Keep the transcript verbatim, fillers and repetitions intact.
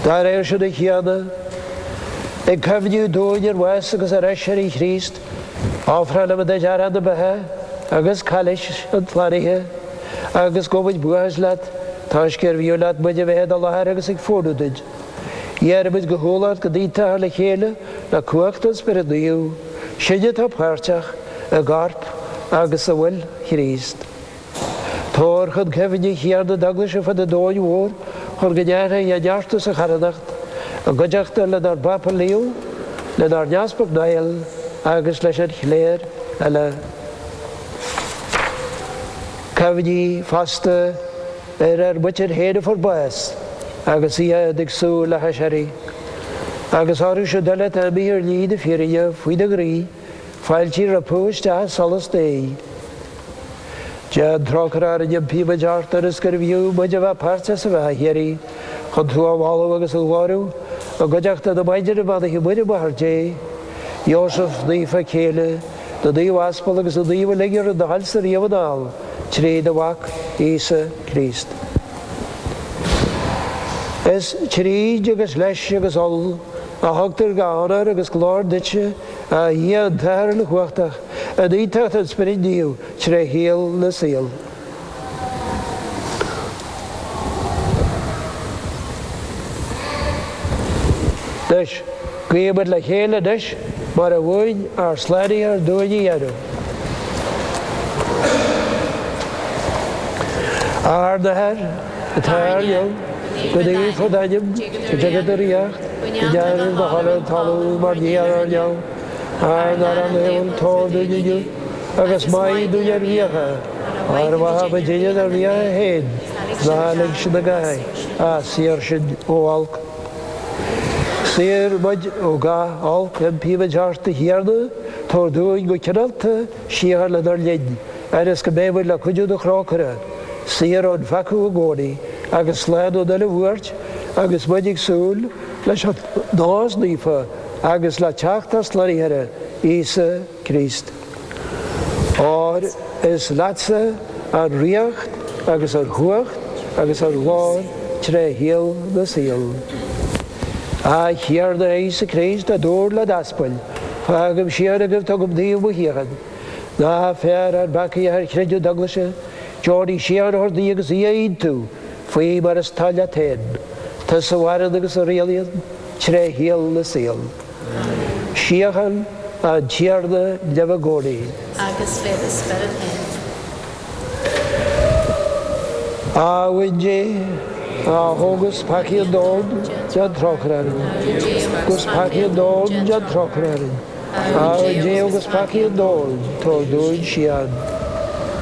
Dá réir sin, a Thiarna, ag cuimhniú dúinn ar bhás agus ar aiséirí Chríost, ofrálaimid duit arán na beatha agus cailís an tslánaithe, agus gabhaimid buíochas leat toisc gurbh fhiú leat muid a bheith i do láthair agus ag fónamh duit. Iarraimid go humhal ort go n-aontófá le chéile le cumhacht an Spioraid Naoimh, sinne atá páirteach i gcorp agus i bhfuil Chríost. Tabhair chun cuimhne, a Thiarna, d'Eaglais ar fud an domhain mhóir chun go neartaí a neartú sa charthanacht, i gcuideachta lenár bPápa Leo, lenár nEaspag Niall agus leis an chléir uile. Cuimhnigh fosta ar ár muintir féin a fuair bás agus iad ag súil le haiséirí, agus orthu siúd uile atá imithe ar shlí na fírinne faoi do ghroí, fáiltigh rompu isteach i solas Dé. Déan trócaire orainn, impímid ort, ionas gurbh fhiú muid a bheith páirteach sa bheatha shíoraí, chun tú a mholadh agus a ghlóiriú i gcuideachta na Maighdine Beannaithe Muire Máthair Dé, Iósaf Naofa a céile, na Naomh Aspal agus na Naoimh uilig a rinne do thoilsa riamh anall, trí do Mhac, Íosa Críost. Is tríd agus leis agus ann a thugtar gach onóir agus glóir duitse, a Dhia an tAthair uilechumhachtach, in aontacht an Spioraid Naoimh, tré shaol na saol. Anois, guímid le chéile anois mar a mhúin ár Slánaitheoir dúinn a dhéanamh. Ár nAthair, atá ar neamh, go naofar d'ainm, go dtiga do ríocht, go ndéanfar do thoil ar an talamh mar ní ar neamh. Ár n-arán laethúil tabhair dúinn inniu, agus maith dúinn ár bhfiacha, mar a mhaithimidne dár bhfiacha féin, ná lig sinn i gcathair, ach saor sinn ó olc. Saor muid ó gach olc, impímid ort, a Thiarna, tabhair dúinn go cineálta síocháin lenár linn, ionas go mbeidh muid le cuidiú do thrócaire, saor ón pheaca i gcónaí agus slán ón uile bhuairt, agus muid ag súil leis an dóchas naofa agus le teacht ár Slánaitheora, Íosa Críost. Óir is leatsa an ríocht agus an chumhacht agus an ghlóir tré shaol na saol. A Thiarna Íosa Críost, a dúirt le d'aspail, Fágaim síocháin agaibh, tugaim daoibh mo shíocháin. Ná féach ar ár bpeacaí ach ar chreideamh d'Eaglaise, deonaigh síocháin a thabhairt di agus í a aontú faoi mar is toil leat féin, tusa a mhaireann agus a rialaíonn tré shaol na saol. Síocháin an Tiarna libh i gcónaí. Agus le do spiorad féin. A Uain Dé, a thógas peacaí an domhain, déan trócaire orainn. Thógas peacaí an domhain, déan trócaire orainn. A Uain Dé, a thógas peacaí an domhain, tabhair dúinn síocháin.